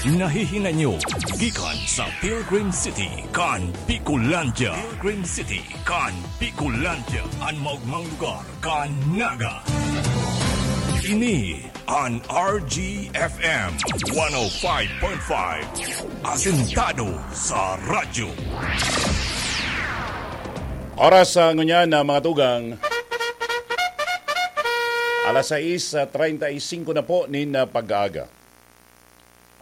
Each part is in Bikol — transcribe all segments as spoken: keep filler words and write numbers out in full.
Nahihinanyo gikan sa Pilgrim City kan Bicolandia. Pilgrim City kan Bicolandia, an maogmang lugar kan Naga. Ini an R G F M one oh five point five, asentado sa radyo. Oras sa ngunyan na mga tugang, alas sais treinta y cinco na po nin ah, pag-aaga.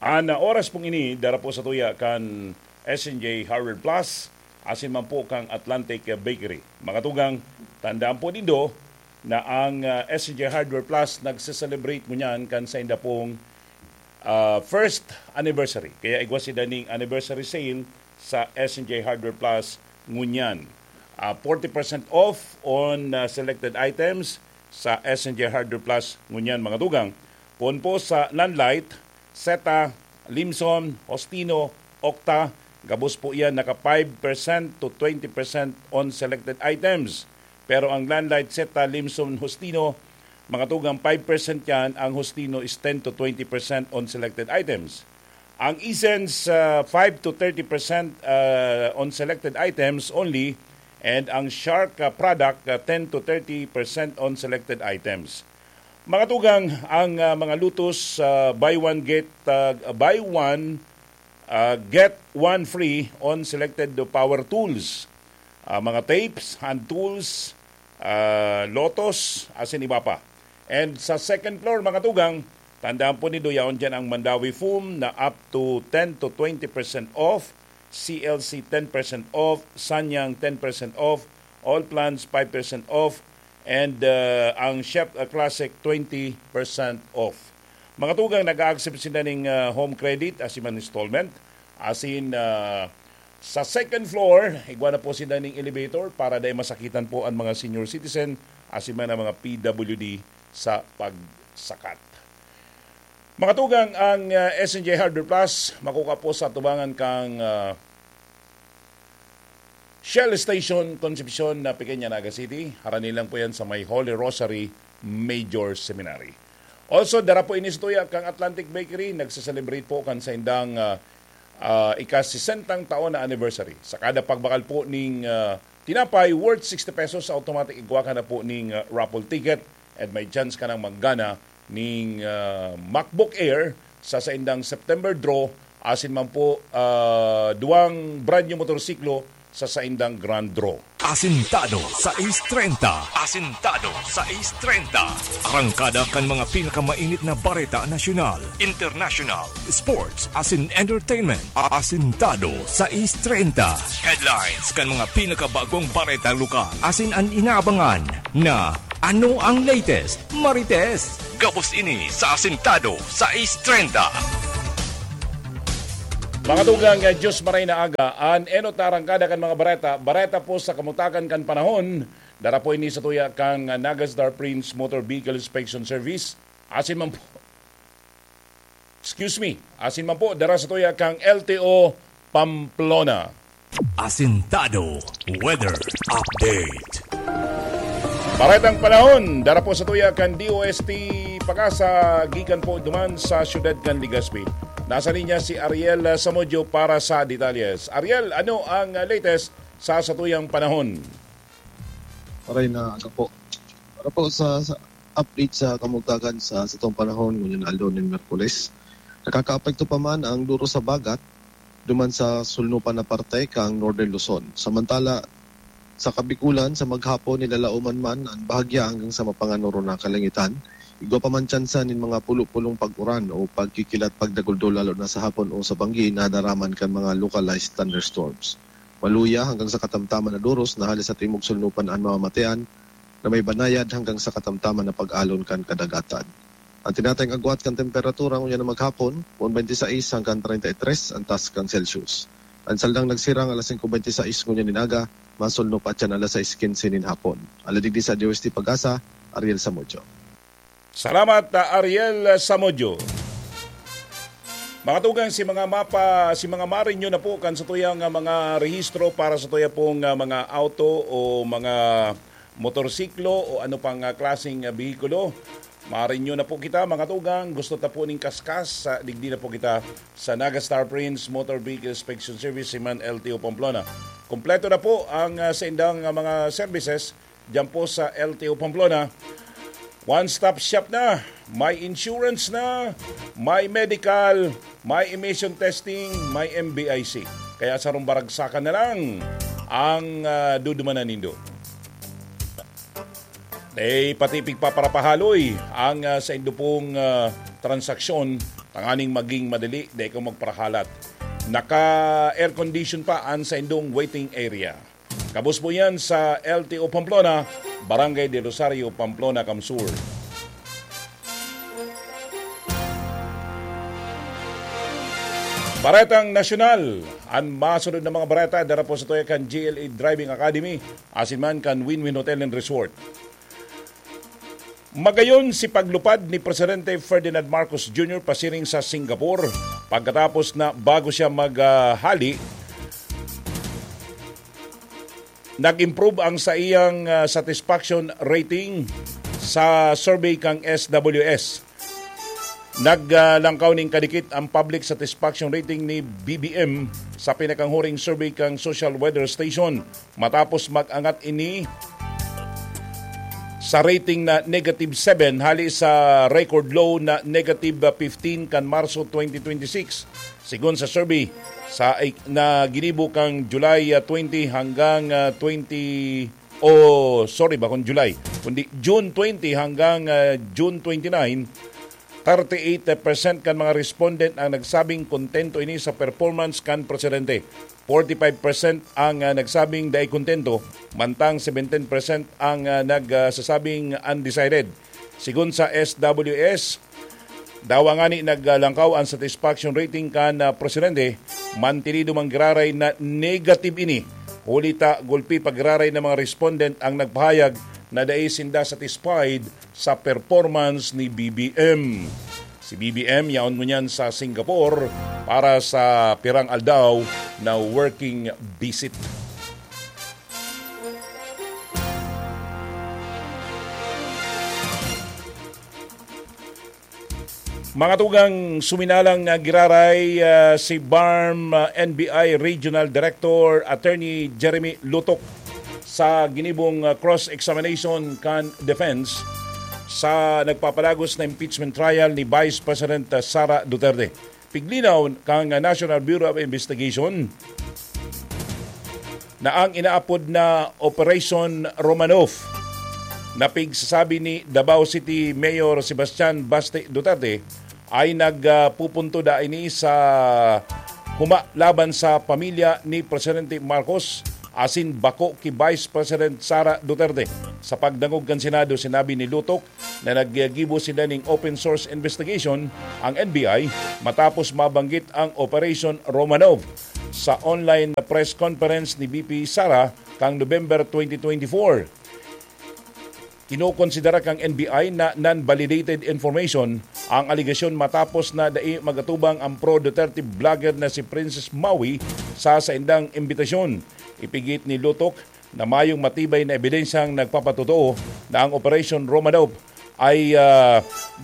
An oras pong ini, dara po sa tuya kan S N J Hardware Plus, asin man po kang Atlantic Bakery. Mga tugang, tandaan po nindo na ang ah, S N J Hardware Plus nagse-celebrate ngunyan kan sainda pong ah, first anniversary. Kaya igwa sinda ning anniversary sale sa S N J Hardware Plus ngunyan. Ah, forty percent off on ah, selected items sa S N J Hardware Plus ngunyan, mga tugang. Poon po sa Landlight, Seta, Limson, Hostino, Okta, gabos po iyan naka five percent to twenty percent on selected items. Pero ang Landlight, Seta, Limson, Hostino, mga tugang five percent yan, ang Hostino is ten to twenty percent on selected items. Ang Essence, ah, five to thirty percent ah, on selected items only, and ang Shark ah, product, ah, ten to thirty percent on selected items. Mga tugang, ang ah, mga lutos, ah, buy one get, ah, buy one, ah, get one free on selected power tools, ah, mga tapes, hand tools, ah, lotos, asin iba pa. And sa second floor, mga tugang, tandaan po nindo, yaon dyan ang Mandawi Foam na up to ten to twenty percent off, C L C ten percent off, Sanyang ten percent off, All Plans five percent off, and ah, ang Chef ah, Classic twenty percent off. Mga tugang, nag-a-accept sila ning ah, home credit, asin man installment, asin ah, sa second floor, igwa na po sila ning elevator para dai masakitan po ang mga senior citizen, asin man ang mga P W D sa pagsakat. Mga tugang, ang ah, S N J Hardware Plus, makukuha po sa tubangan kang ah, Shell Station, Concepcion na Pequeña, Naga City. Harani lang po yan sa may Holy Rosary Major Seminary. Also, dara po ini sa tuya kang Atlantic Bakery. Nagse-celebrate po kan saindang ah, ah, ika-sesentang taon na anniversary. Sa kada pagbakal po ning ah, tinapay worth sixty pesos, automatic igwa ka na po ning ah, raffle ticket. And may chance ka nang maggana ning ah, MacBook Air sa saindang September draw, asin man po ah, duwang brand new motorsiklo sa saindang grand draw. Asintado sais treinta. Asintado sais treinta. Arangkada kan mga pinakamainit na bareta nasyonal, international, sports, asin entertainment. Asintado sais treinta. Headlines kan mga pinakabagong bareta lokal. Asin an inaabangan na ano ang latest, Marites. Gabos ini sa Asintado sais treinta. Mga tugang, ah, Diyos maray na aga, an enot na arangkada kan mga bareta, bareta po sa kamutakan kan panahon, dara po ini sa tuya kang ah, Naga Star Prince Motor Vehicle Inspection Service, asin man po, excuse me, asin man po, dara sa tuya kang L T O Pamplona. Asintado Weather Update. Baretang panahon, dara po sa tuya kan D O S T Pag-asa, gikan po duman sa siyudad kan Legazpi. Nasa linya si Ariel Samudio para sa detalles. Ariel, ano ang latest sa satuyang panahon? Maray na aga po. Para po sa, sa update sa kamugtakan sa satong panahon ngunyan aldaw nin Miyerkules, nakakaapekto pa man ang duro sa bagat duman sa sulnupan na parte kang Northern Luzon. Samantala, sa Kabikulan, sa maghapon, nilalaoman man an bahagya hanggang sa mapanganoro na kalangitan. Igwa pa man tsansa nin mga pulo-pulong pag-uran o pagkikilat pagdaguldol lalo na sa hapon o sa banggi na daraman kan mga localized thunderstorms. Maluya hanggang sa katamtaman na doros na hali sa timog sulnupan an mamamatean na may banayad hanggang sa katamtaman na pag-alon kan kadagatan. Ang tinatayong agwat kan temperatura ngunyan na maghapon, poon twenty-six hanggang thirty-three ang taas kan Celsius. Ang saldang nagsirang alas singko twenty-six ngunyan nin aga, masulno pa tiyan alas sais quince nin hapon. Ala digdi sa D O S T Pag-asa, Ariel Samudio. Salamat, ah, Ariel Samudio. Mga tugang, si mga mapa, si mga marinyo na po kan sa tuyang ah, mga rehistro para sa tuya pong ah, mga auto o mga motorsiklo o ano pang ah, klaseng ah, behikulo. Marinyo na po kita, mga tugang. Gusto ta po ning kaskas, sa digdi na po kita sa Naga Star Prince Motor Vehicle Inspection Service, si man L T O Pamplona. Kompleto na po ang ah, sa indang ah, mga services diyan po sa L T O Pamplona. One-stop shop na. May insurance na, may medical, may emission testing, may M B I C. Kaya sa rumbaragsakan na lang ang ah, dudumanan nindo. Eh, pati pigpaparapahaloy ang ah, sa indo pong ah, transaksyon, tanganing maging madali, dai ka magparahalat. Naka-air condition pa ang sa indong waiting area. Kabos po yan sa L T O Pamplona, Barangay de Rosario, Pamplona, Kamsur. Baretang Nasyonal, ang masunod na mga bareta, dara po sa tuya kan G L A Driving Academy, asin man kan Win-Win Hotel and Resort. Magayon si paglupad ni Presidente Ferdinand Marcos Junior pasiring sa Singapore pagkatapos na bago siya maghali, nag-improve ang saiyang ah, satisfaction rating sa survey kang S W S. Naglangkaw nin kadikit ang public satisfaction rating ni B B M sa pinakanghuring survey kang Social Weather Station, matapos mag-angat ini sa rating na negative seven hali sa record low na negative fifteen kan Marso twenty twenty-six. Sigon sa survey sa na ginibo kang July ah, twenty hanggang ah, twenty, o sorry, bakong July, kundi June twenty hanggang ah, June twenty-nine, thirty-eight percent kan mga respondent ang nagsabing kontento ini sa performance kan presidente. Forty-five percent ang ah, nagsabing dai kontento, mantang seventeen percent ang ah, nagsasabing undecided. Sigon sa S W S, dawa ngani naglangkaw ang satisfaction rating kan ah, presidente, mantinido man giraray na negative ini. Huli ta gulpi pa giraray na mga respondent ang nagpahayag na dai sinda satisfied sa performance ni B B M. Si B B M yaon ngunyan sa Singapore para sa pirang aldaw na working visit. Mga tugang, suminalang ah, giraray ah, si BARMM ah, N B I Regional Director Attorney Jeremy Lutok sa ginibong ah, cross-examination kan defense sa nagpapalagos na impeachment trial ni Vice President ah, Sara Duterte. Piglinaw kan ah, National Bureau of Investigation na ang inaapod na Operation Romanov na pigsasabi ni Davao City Mayor Sebastian Baste Duterte ay nagpupunto da ini sa huma laban sa pamilya ni Presidente Marcos asin bako ki Vice President Sara Duterte. Sa pagdangog kan Senado, sinabi ni Lutok na naggibo sinda ning open source investigation ang N B I matapos mabanggit ang Operation Romanov sa online na press conference ni V P Sara kang November twenty twenty-four. Kinokonsidera kang N B I na non-validated information ang alegasyon matapos na dai magatubang ang pro-Duterte blogger na si Princess Maui sa saindang imbitasyon. Ipigit ni Lutok na mayong matibay na ebidensyang nagpapatotoo na ang Operation Romanov ay ah,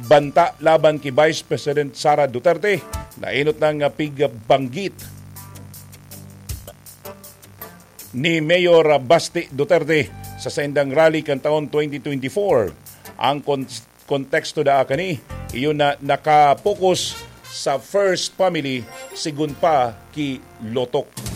banta laban ki Vice President Sara Duterte na enot nang ah, pigbanggit ni Mayor Basti Duterte sa saindang rally kan taon twenty twenty-four. Ang kon- konteksto da kani, iyon na nakapokus sa first family, sigun pa ki Lotok.